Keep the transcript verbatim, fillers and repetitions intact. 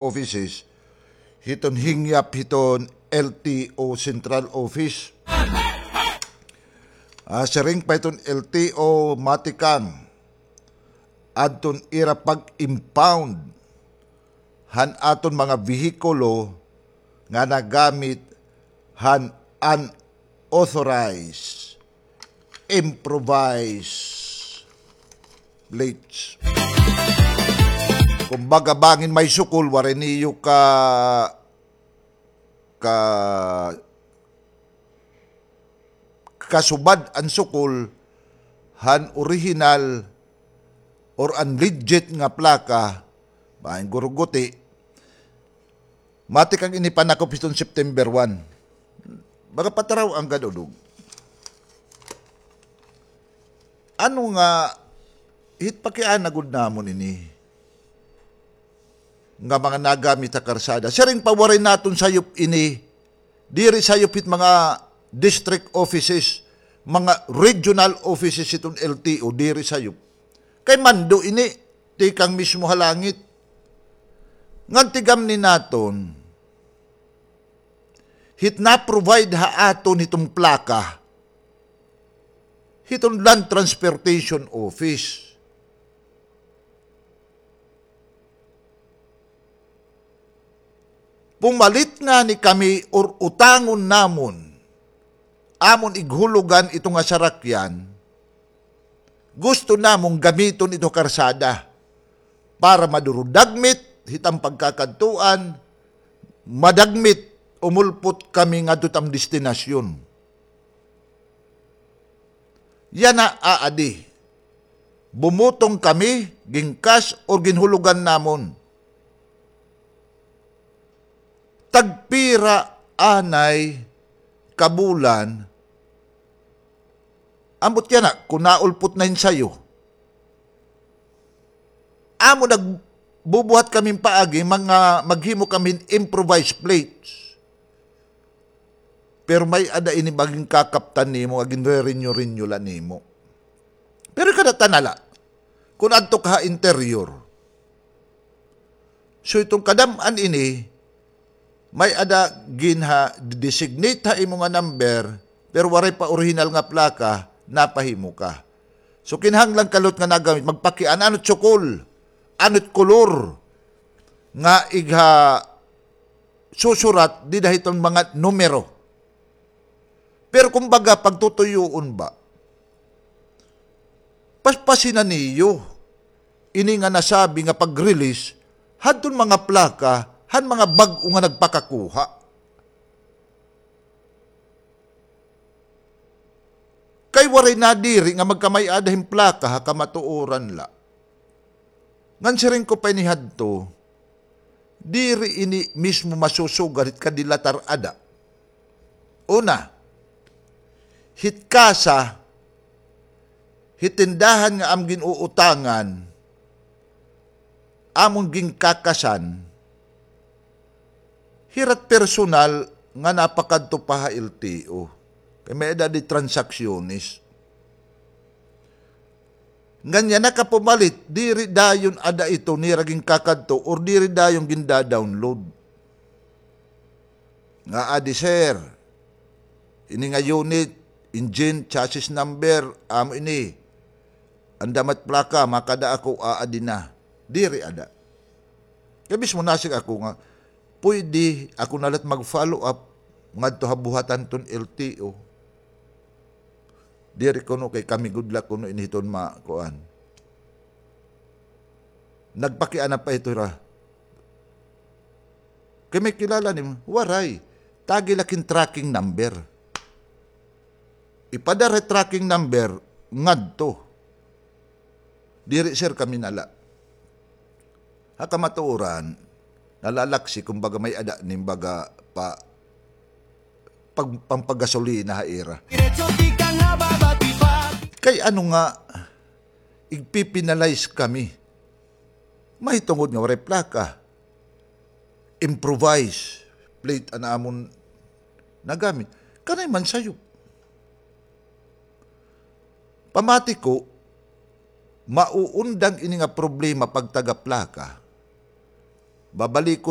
offices, hiton hingyap hiton L T O Central Office. Ah, siring pa hiton L T O, matikang adton ira pag-impound han aton mga behikulo nga nagamit han unauthorized, improvised plates. Kumbaga, bangin may sukol, waray niyo ka, ka, kasubad an sukol han orihinal or an legit nga plaka, bangin guruguti, matikang ini panakop hiton September one. Baga pataraw-an gad, Udog. Ano nga, hit pakiana gud namon ini nga mga nagamit ha karsada. Siring pa, waray naton sayop ini. Diri sayop hit mga district offices, mga regional offices hiton L T O, diri sayop. Kay mando ini, tikang mismo ha langit. Ngan tigamni naton, hit na-provide ha aton hiton plaka hiton Land Transportation Office. Pumalit ngani kami or utangon namon, amon ighulugan ito nga sarakyan, gusto namon gamiton ito karsada para maduro dagmit hit am pagkakadtuan, madagmit umulpot kami ngadto hit am destinasyon. Yana aadi. Bumutong kami, ginkas or ginhulugan namon. Tagpira anay ka bulan, ambot yana, kun naulpot na hin sayo. Amo nagbubuhat kami hin paagi, mga maghimo kami hin improvised plates. Pero may-ada ini magin kakaptan nimo, nga ginre-renew-renew la nimo. Pero kadatan na la, kun adto ka ha interior. So, iton kadam-an ini, may-ada ginha-designate ha imo nga number, pero waray pa orihinal nga plaka, napahimo ka. So, kinahanglan ka liwat nga nagamit, magpakiana, ano it sukol, ano it kolor, nga igha susurat dida hiton mga numero. Pero kumbaga, pagtutuyoon ba, paspasi na niyo ini nga nasabi nga pag-release hadton mga plaka han mga bag-o nga nagpakakuha. Kay waray nadiri nga magkamay-ada hin plaka ha kamatuoran la. Ngan siring ko pa ini hadto, diri ini mismo masusugad hit kadilatar ada. Una, hit kasa, hit tindahan nga am gin-uutangan, amon ginkakasan, hira it personal nga napakadto pa ha L T O. Kay may-ada di transaksyones. Ngan yana ka pumalit, diri dayon ada ito nira ginkakadto or diri dayon ginda-download. Nga adi, sir, ini nga unit, engine, chassis number, amo ini. Andam it plaka, makada ako, aadi na. Diri ada. Kay mismo nasig ako nga, pwede ako na la it mag-follow up ngadto ha buhatan hiton L T O. Diri kuno kay kami gud la kuno ini hiton ma-, kuan. Nagpakiana pa ito hira. Kay may kilala nimo, waray. Tagi la it hin tracking number. Ipadara it tracking number ngadto. Diri, sir, kami na la. Ha kamatuoran, nalalaksi, kumbaga, may-ada nim baga pa, pag-, pampagasolina ha ira. Kay ano nga, igpipinalize kami. Mahitungod nga waray plaka. Improvise plate an amon nagamit. Kanay man sayop. Pamati ko, mauundang ini nga problema pagtaga plaka. Babalikon